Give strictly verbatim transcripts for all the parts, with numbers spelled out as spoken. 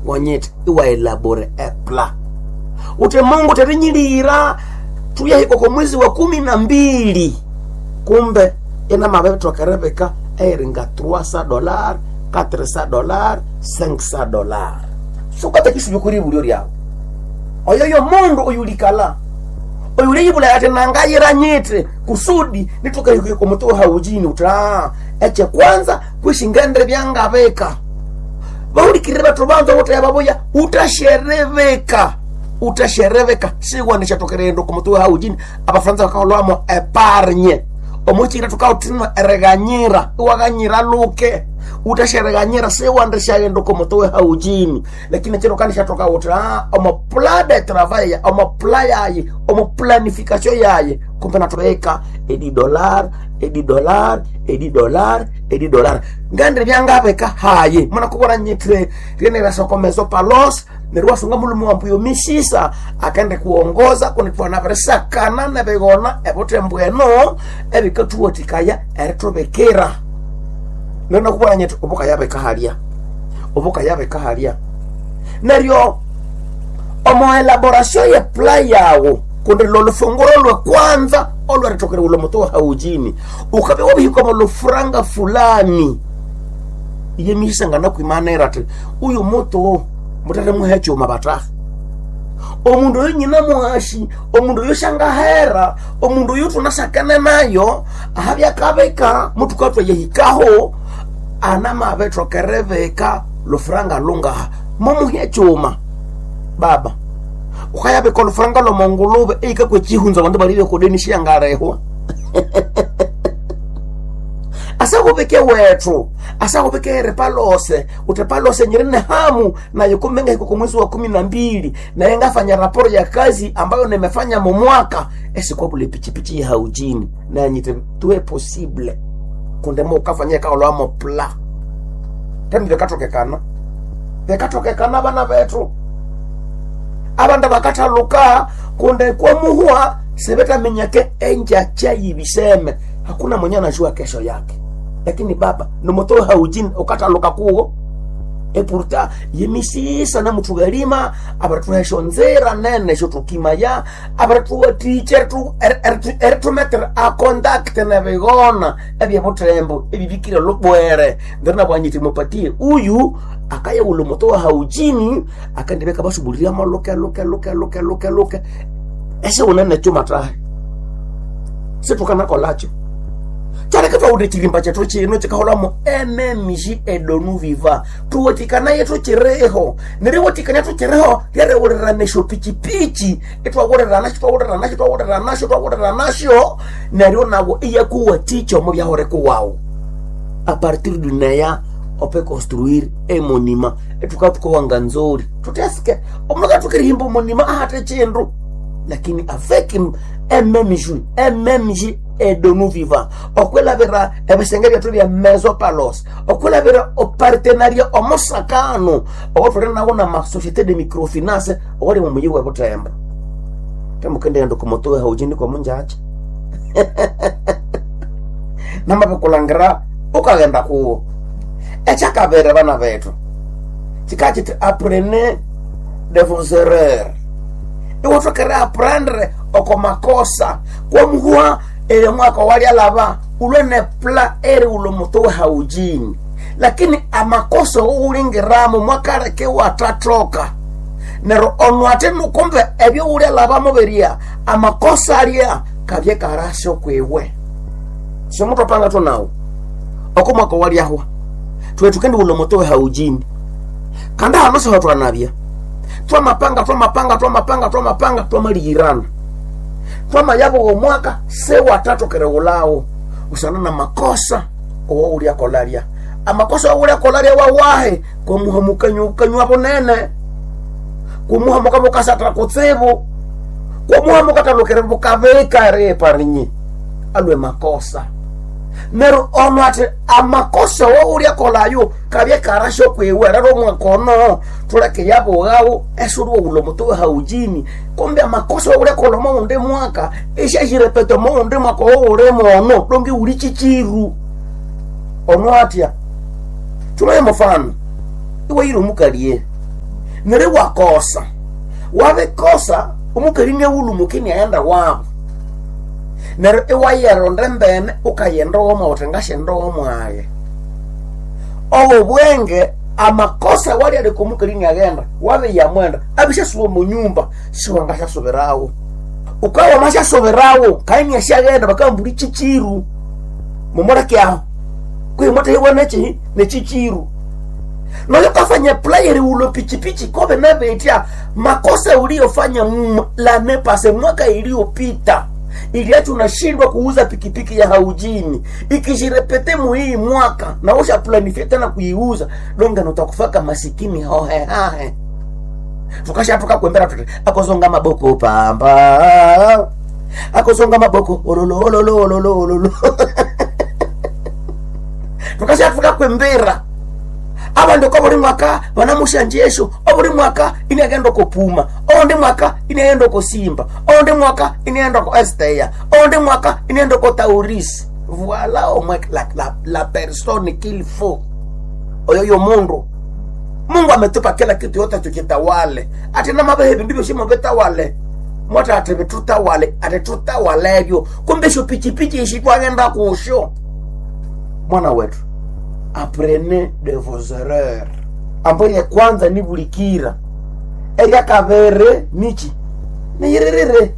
Wanyete iwaelabore epla ute Mungu terinyilira tuyahika kwa mwezi wa kumi na mbili kumbe ina mabethokerebeka eiringa trois dollar quatre dollar cinq dollar sukata kuri bulyo lyawo oyoyo mundu oyulikala oyuliyibula ati nangayira nyite kusudi nitukahika mutu haujini uta eche kwanza kwishingendre byangabeka baulikirire bathu banza wote babuya utashereveka utashereveka siwanishathokerendo kumutu haujini abafaransa bakaholwamo epargne omuchira tukautinwa ereganyira iwaganyira luke utashereganyira siwandishaghenda kumutu haujini lakini chino kanishathoka uti ah, omo plan de travail ya omo plan yaye omo planification yaye kumbe natubeka edi dollar edi dollar edi dollar edi dollar ngandire byangabeka haye mwana kubona nyitire ryenerasokomezo palos neryo wasunga mulume wambuyo misisa akende kuongoza kunitwana berisakana nebigona ebuthembweno ebikathuwathikaya erithubikira neryo nakubona nyiti obukayabeka halya obukayabeka halya neryo omo elaboration ye pla yawo kundi lolufunguro lwe kwanza olwerithokere ulo mutu haujini ukabya wabihika lufuranga fulani iye misisa nganakuimanira ati uyu mutu mutere muhe chuma bataha omundu oyo nyina mwashi omundu oyo shangahera omundu oyo tunasakene nayo ahabyakabeka mutukatwa yehikaho anamabethokerebeka lufuranga lungaha mumuhe chuma baba ukayabeka olufuranga lomongulube eikakwe chihunza abandu balibye kodeni shiyangarehwa asakubeke wethu asakubeke erepalose utepalose nyirine hamu nayo kumenga iko mwezi wa kumi na mbili naye ngafanya raporo ya kazi ambayo nimefanya mumwaka esikwabule pichipichi ya haujini nanyite tuwe possible kundemo ukafanya kaolwamo pla temi vikatokekana vikatokekana bana bethu abandu bakathaluka kunde kwamuhwa sebetamenyake enjacha yibiseme hakuna mwenye anajua kesho yake lakini baba nomoto haujini ukathaluka kuwo epurta yemisisa namuthukalima abarituhesho nzira nene shotukimaya abarituwaticha eritumetere acontact nebigona ebyebuthembo ebibikire lubwere ndiri mupatie uyu akayawula omuto wa haujini akandibeka basubuliriamo luke luke luke luke luke luke esiwunene chuma tahe situkanakolakyo kyaleke twawude chilimba kyethu chino chikaholamo mmg edonu viva tuwatikanaye tuchireho neriwatikania tuchireho lyariwulirana esyo pichipichi itwawulirana twawulirana twawulirana twawulirana nasyo neryo nawo iyakuwaticha omo byahoreko wawu a partir du neya ope construire emonima etukatukowa nzori tuteske omundu katukirihimba omonima ahate chindu lakini avec mmg mmg edonu viva okwelabira ebisenge byethu bya meso palos okwelabira opartenaria omosakano owatuli nawo na masociété de microfinance owali mumuyi webuthemba temukendenda kumutuwe haujini komunjacha namabikulhangira ukaghenda kuwo ekyakabiri bana bethu kikakiti apprenez de vos erreurs iwatokere aprendre oko makosa kwamuhwa ele mwaka walyalaba ulwene pla eri ulo mutu haujini lakini amakosa uwulingiramo mwakaleke watathoka neryo ono ate nukumbe ebyo ulyalabamo birya amakosa alya kabye karasyo kwiwe simutu apanga tunawo oko mwaka walyahwa twetukendi ulo mutu haujini kandi hano siho twanabya twamapanga twamapanga twamapanga twamapanga twamaliyirana twamayabo omwaka sewathathokere ulawo usana na makosa owo ulyakolalya amakosa owo ulyakolalya wawahe kwamuha bunene kumuha mukabukasatha kutsibu kwamuha mukathalukire bukabika riparinyi alwe makosa neryo ono ati amakosa woulya kolayo kabye karasyo kwiwe rero omwaka ono tuleke yabughawo esuli wowula omutu haujini kumbe amakosa woulya kola omowundi mwaka esyasyirepeta omowundi mwaka owulimo ono donge wuli chichiru ono atya tumaye mufano iwe yiri omukalie Neryo wakosa, wabikosa omukali niawulumuka iniaghenda wabo. Neryo iwayeronda embene ukayenda woma uthi ngasyenda womwage. Obo bwenge amakosa walyaleka omukali iniaghenda wabiyamwenda abisyasuba omo nyumba siwangasyasubirawo. Ukawa wamasyasubirawo kandi iniasyaghenda bakambula ichichiru mumuleke aho kwihi mwathahibwa nekihi nechichiru. Noyo kafanya player ulo pichipichi kobe nabetya makosa uliyofanya l'année passée, mwaka iliyopita iliacha unashindwa kuuza pikipiki ya haujini, ikijirepete muhii mwaka na usha planifia tena kuiuza donga notakufaka masikini hohehahe. Tukashatoka kwembera tuti akozonga maboko pamba akozonga maboko ololo ololo ololo ololo tukashatoka kwembera abandu ko buli mwaka banamushanjesho obuli mwaka iniaghenda okopuma oundi mwaka iniaghenda okosimba oundi mwaka iniaghenda oko esteya oundi mwaka iniaghenda oko taurisi. Voilà au moins la, la, la personne qu'il faut oyo yo mundu. Mungu ametupa kila kitu yote tukitawale ati namabehe bindu byosi mubitawale mwata ati bitutawale ati tutawalebyo kumbe sho pichipichi ishi twaghenda kusho. Mwana wetu, apprenez de vos erreurs. Ambayo ya kwanza ni bulikira, eryakabere nichi niyirerere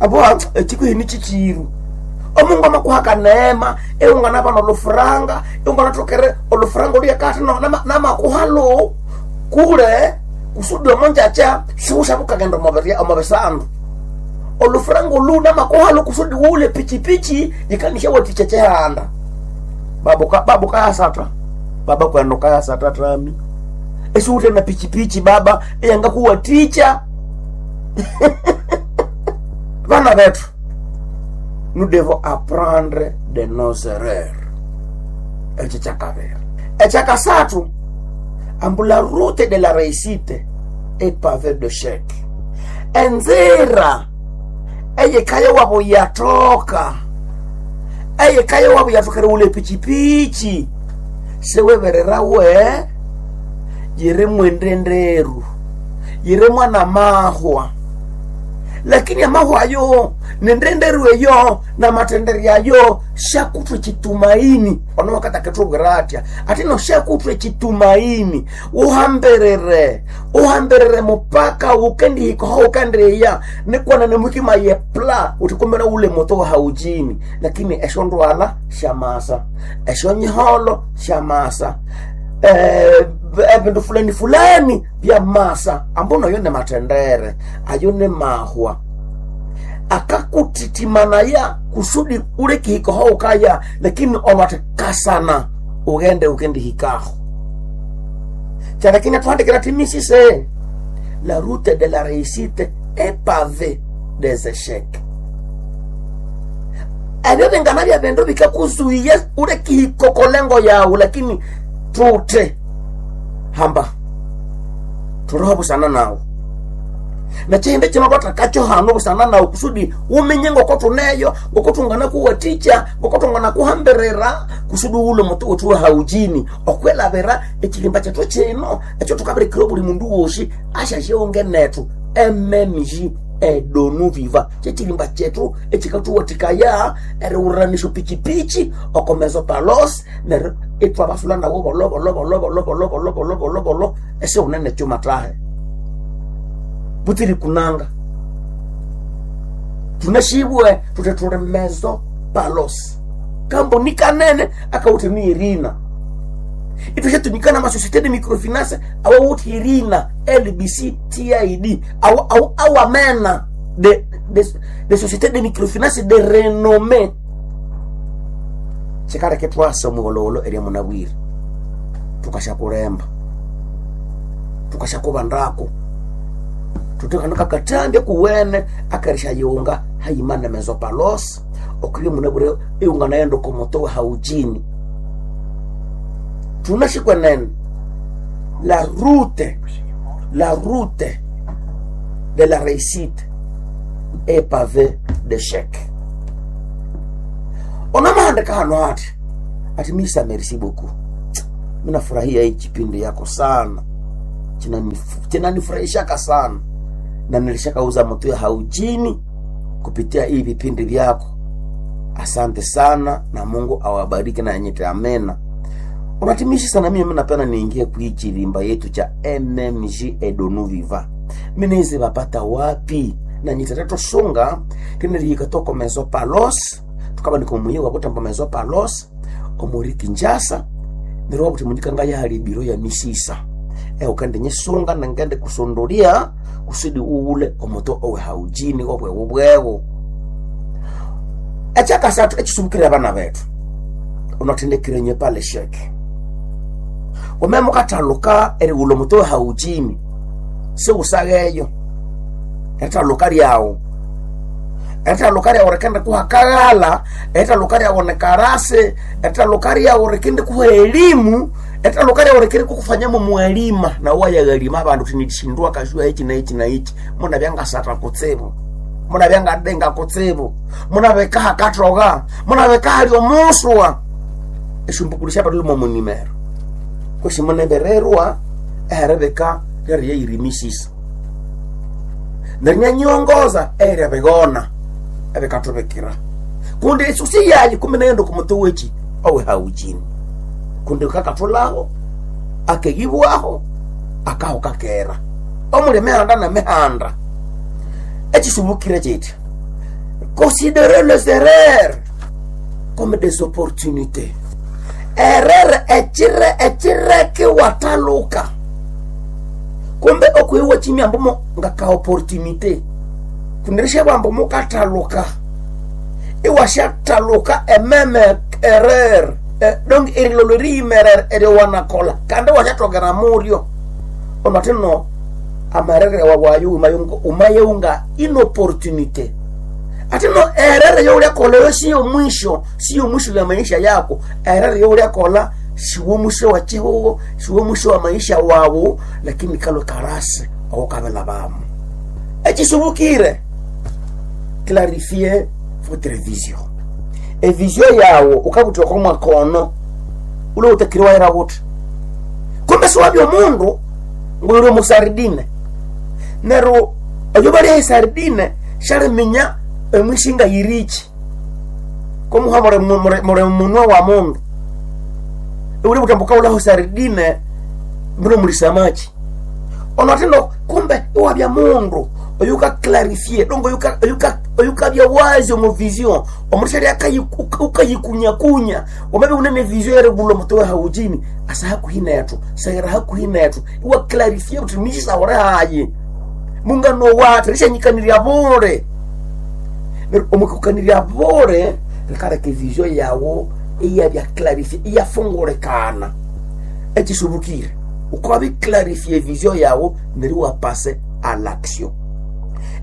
abo ekikuhi nichichiru. Omungu amakuhaka neema eungana bana olufuranga eungana tokere olufuranga oluyakati namakuhalo kule kusudi omonjacha siushabukagenda omobisandu olufuranga olu namakuhalo kusudi wule pichipichi yikanisha waticha chehanda. Babu ka, babu kayasata baba kwendo kayasata tami esiute na pichipichi baba eyanga kuwa ticha. Vana vetu, nous devons apprendre de nos erreurs. Ekyo kyakabiri. Ekyakasathu, ambu la route de la réussite est pavée d'échecs. Enzira eyikaya wabo yatoka eyikaya wabo yatokere ule pichipichi sewebererawe yiri mwendenderu yiri mwana mahwa, lakini amahwa ayo nendenderu eyo na matendere ayo shakutwe chitumaini. Ono wakati akatubwira atya ati no shakutwe chitumaini uhamberere uhamberere mupaka ukendihikaho ukandiya nikwana nemwikima ye pla utikumbera ule moto wa haujini, lakini esho ndwala shamasa esho nyiholo shamasa eh, ebindu fulani fulani bya masa ambono ayo ne matendere ayo ne mahwa akakutitimanaya kusudi ule kihikoho ukaya, lakini olwatikasana ughende ukendihikaho kyalakini atuhandikira timisise la route de la réussite est pavée des échecs. Ebyo bingana bya bindu bikakuzuiya ule kihikokolengo yawu, lakini tute hamba turoho busana nawo nachihindi chino twatakacho hano busana nawo kusudi umenye ngoko tuneyo ngoko tungana kuwaticha ngoko tungana kuhambirira kusudi ule mutu wetu haujini okwelabira echilimba chetu chino echo tukabirikira buli mundu wosi ashashionge netu M M G edonu viva chechilimba chetu echikatuwatikaya eriwuranisho pichipichi okomezo palos neryo itwabasula nawo bolo bolo bolo bolo bolo bolo bolo bolo bolo esiwunene chuma tahe butiri kunanga tunashibwe tutetule mezo palos kambo nikanene akauti ni irina itweshatumikana masosiete de microfinance awawuti irina L B C T I D awa awa awamena de de de société de microfinance de renommée chikaleke twasa omuwolowolo erya munabwire tukashakulemba tukashakubandako tutekana kakatambya kuwene akarisha yunga hayimana mezopalos okriyo munabwire iunga nayo komoto haujini tunashikwenene la route la route de la réussite est pavée d'échecs. Onamahandika hano ati ati misa merci beaucoup, minafurahia hii kipindi yako sana. Chinanifurahishaka sana na nilishakauza moto ya haujini kupitia hii vipindi vyako. Asante sana na Mungu awabariki na nyite amena. Unatimishi sana mimi napenda niingie kuichilimba yetu cha M M G Edonu Viva. Minezi bapata wapi? Na nyite sunga tiniriyika toko mezo palos tukaba nikomuye wakutampa mezo palos omuri Kinshasa nero wabuti munyika ngaya hali biro ya misisa e ukende nyisunga nangende kusundulia kusudi uule omoto owe haujini obwe ubwewo ekyakasathu ekisubukirira abana bethu unathendekire nye pale sheke wameme ukathaluka erighulha omoto owe haujini siwusagheyo erithaluka lyawu erithaluka lyawu rikende kuha kaghala erithaluka lyawu nikarasi erithaluka lyawu rikende kuha elimu erithaluka lyawu rikende kukufanyamo mwalima nawu wayaghalima abandu uthi nilishindwa kashua hiki na hiki na hiki munabyangasatha kutsibu munabyangadenga kutsibu munabekaha kathoga munabekaha lyomuswa esyombukulu syabali momunimero kwesi munembererwa eheribika lyeriyayirimisisa nerinyanyiongoza eryabigona ebikathubikira kundi esusi yayi kumi naghenda okumuti weki owe haujini kundi kakathulaho akeyibwaho akaho kakera omuli emihanda nemihanda ekisubukire kiti considérer les erreurs comme des opportunités erreur ekire ekireke wathaluka kumbe okuyiwa chimyambo mo ngaka opportunité kundirisha bwambo mukathaluka iwashathaluka ememe erreur eh, donc erilolo riyimerere eriwanakola kandi washathokera muryo onatino amarere wawayo umayeunga inopportunité atino erere youlyakola siyo mwisho siyo mwisho ya maisha yako erere youlyakola siwo mwisho wa chihuho siwo mwisho wa maisha wawu lakini kalwe karasi awokabela bamu ekisubukire clarifier votre vision evision yawo ukabuthiwako mwakono ule utakiri waira wuthi kumbe siwabya omundu ngwiri omusardine neryo oyo balya esardine syaliminya emwisinga yiriki komuha mure munwa wa mundu uli butambuka ulaho sardine mbino muli samaki ono atino kumbe iwabya mundu oyuka clarifie dongo oyuka oyuka oyukabya wazi omu vision omundu syali ukayikunyakunya wamabe unene vision eribulha omuti we haujini asa hakuhi nethu saghera hakuhi nethu iwa clarifie uthi misisawure hayi mungano wathu rishanyikanirya bule neryo omukukanirya bule rikaleka evision yawu iyabya clarifie iyafungulikana ekisubukire ukabiclarifie vision yawu neryo iwapase à l'action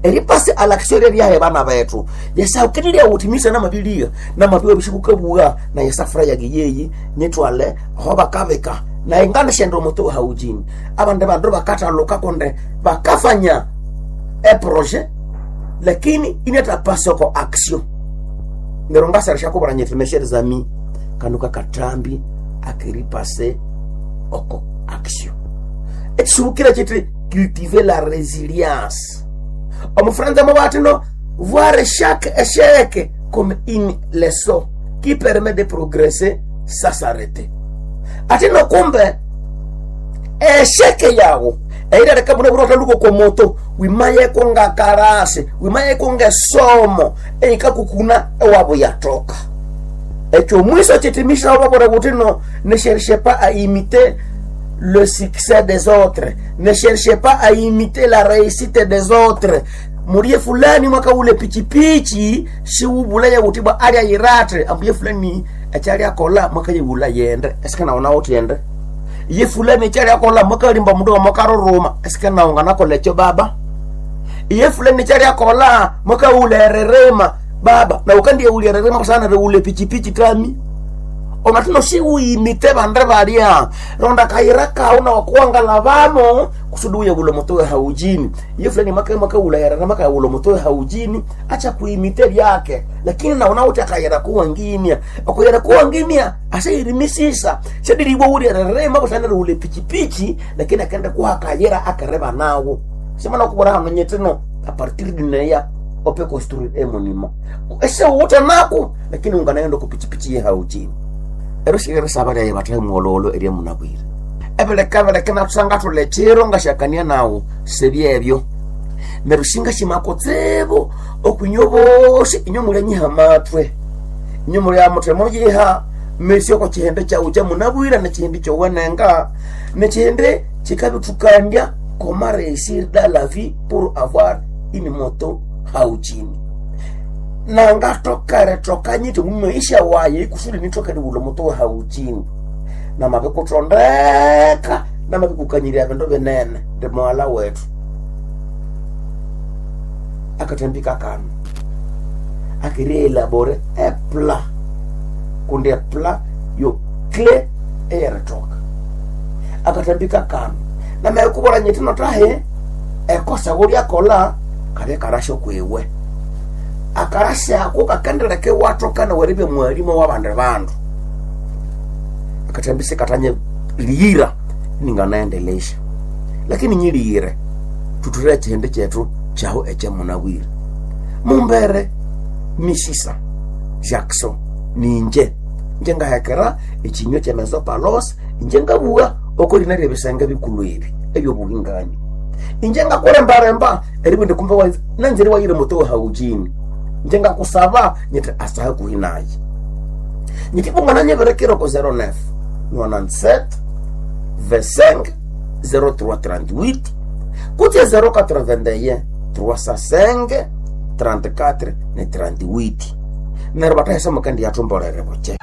eripase à l'action rye bana bethu yesaukenelya uthi misa namabilia namabiwa bishikukabuwa na yesafura yage yeyi nyitwale aho bakabika na ingane shendo omuti haujini abandu bandu bakathaluka kunde bakafanya eprojet lakini inatapasa ko action neryo ngasara kubara nyiti mes chers amis kanu kakatambi akiripase oko action ekisubukira kiti cultiver la résilience omufranza mo voir chaque échec comme une leçon qui permet de progresser sans s'arrêter atino kumbe esheke yawo eirareka buna buna utaluko komoto wimayeko ngakarase wimayeko ngesomo eikakukuna ewabo yatoka ekyo mwiso chitimisha wababora butino ne cherchez pas à imiter le succès des autres ne cherchez pas à imiter la réussite des autres mulie fulani mwaka ule pichipichi siwubulaya utibwa alya yiratre ambuye fulani echali akola mwaka yewula yende esikana uti yende ye fulani echali akola mwaka limba mundu mwakaruruma esikana unganakola echo baba iye fulani echali akola mwaka ule ererema baba na ukandiye ule ererema kusana ule pichipichi tami Onatino siwimite bande balya ronda kayira kawu nawakuwangalabamo kusudi uye bulo moto haujini iyo fulani maka maka ulayara na maka bulo moto haujini acha kuimite byake lakini naona uti akayira kuwangimya akuyira kuwangimya asayirimisisa sediriwe uri rema busana ule pichipichi lakini akaenda kuha kayira akareba nawo semana kubora hano nyetino a partir dineya ope construire e monument ese wote nako lakini unganaenda kupichipichi ye haujini ero shigere saba lyaye bathahe muololo erya munabwire ebeleka beleka natusanga thule chiro ngashakania nawo sebyebyo neryo shinga shimakotsibu okwinywe bosi inywe mulyanyiha matwe inywe mulya muthe muyiha mesi oko chihende kyawu kyamunabwire nechihindi kyowenenga nechihindi chikabithukandya comment réussir dans la vie pour avoir une moto hauchini nangatokere tokanyite mumaisha waye kusudi nitokere bulo moto hauchini namabikutondeka namabikukanyirya bindu binene ndi mwala wetu akatambika kano akirielabore epla kundi epla yo cle eyeritoka akatambika kano namekubora nyiti notahe ekosa gulyakola kabye karasho kwiwe akarasha ako kakendeleke watokana weribye mwalimu wabandi bandu akatambise katanye liyira ninganaendelesha lakini nyiliyire tuturire chihindi chetu chaho echemunabwire mumbere misisa jackson ninje nje ngahekera echinywa chemezo palos inje ngabuga okolina lyebisenge bikulu ebi ebyobuhingani inje ngakurembaremba eribindi kumbe wa nanziri wayire moto haujini nje ngakusaba nyiti asaha kuhinaye nyiti bungana nyeberekero ko zero nine nonante-sept vingt-cinq zéro trois trente-huit kutya zéro quatre-vingt-un trois cent cinq trente-quatre ne trente-huit neryo batahesa mukendi yathumbolere buche.